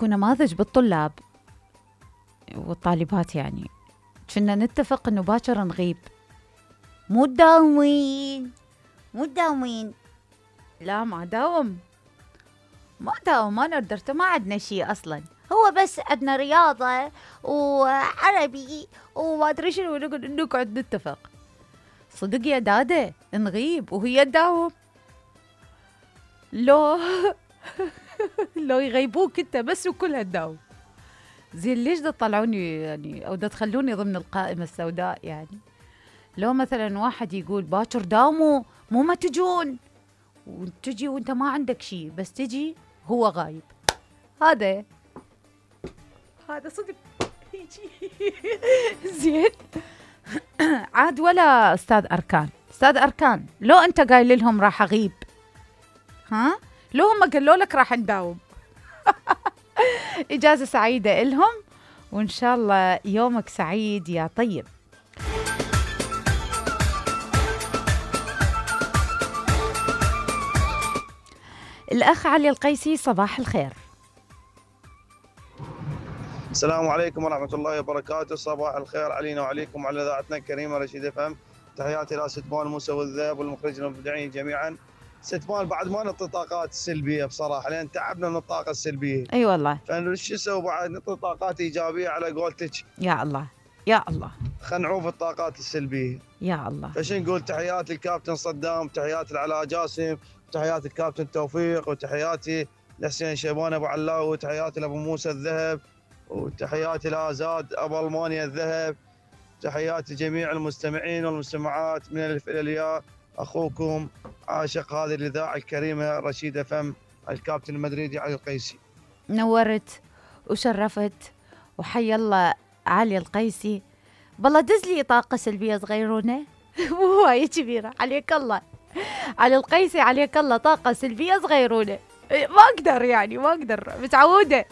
اكو نماذج بالطلاب والطالبات يعني كنا نتفق انه باكر نغيب. مو تداومين لا ما داوم انا ودرته ما عندنا شيء اصلا، هو بس عندنا رياضة وعربي وما ادري شنو نقعد نتفق. صدق يا داده نغيب وهي تداوم لو لو يغيبوك انت بس وكلها تداوم. زين ليش دا تطلعوني يعني او دا تخلوني ضمن القائمة السوداء يعني؟ لو مثلا واحد يقول باكر داوموا مو ما تجون، وتجي وانت ما عندك شيء بس تجي هو غايب، هذا صدق يجي. زين عاد ولا استاذ اركان لو انت قايل لهم راح اغيب، ها لو هم قالوا لك راح نداوم. اجازة سعيدة لهم وان شاء الله يومك سعيد يا طيب. الأخ علي القيسي صباح الخير. السلام عليكم ورحمة الله وبركاته. صباح الخير علينا وعليكم وعلى إذاعتنا الكريمة رشيد FM. تحياتي إلى ست مال موسى والذهب والمخرج المبدعين جميعا. ست مال بعد ما نعطي الطاقات السلبية بصراحة لأن تعبنا من الطاقة السلبية. أي والله. فشو نسوي بعد نعطي طاقات إيجابية على قولتك. يا الله خلينا نعوف الطاقات السلبية. يا الله. فش نقول تحياتي الكابتن صدام، تحياتي العلاء جاسم، تحياتي الكابتن توفيق، وتحياتي لحسين شيبان ابو علاء، وتحياتي لابو موسى الذهب، وتحياتي لازاد ابو المانيا الذهب، تحياتي جميع المستمعين والمستمعات من الالف الى الياء. اخوكم عاشق هذه الاذاعه الكريمه رشيد FM الكابتن المدريدي علي القيسي. نورت وشرفت وحي الله علي القيسي. بالله دز لي طاقه سلبيه صغيرونه مو هوايه كبيره. عليك الله علي القيسي، عليك الله طاقه سلبيه صغيرونه. ما اقدر متعوده.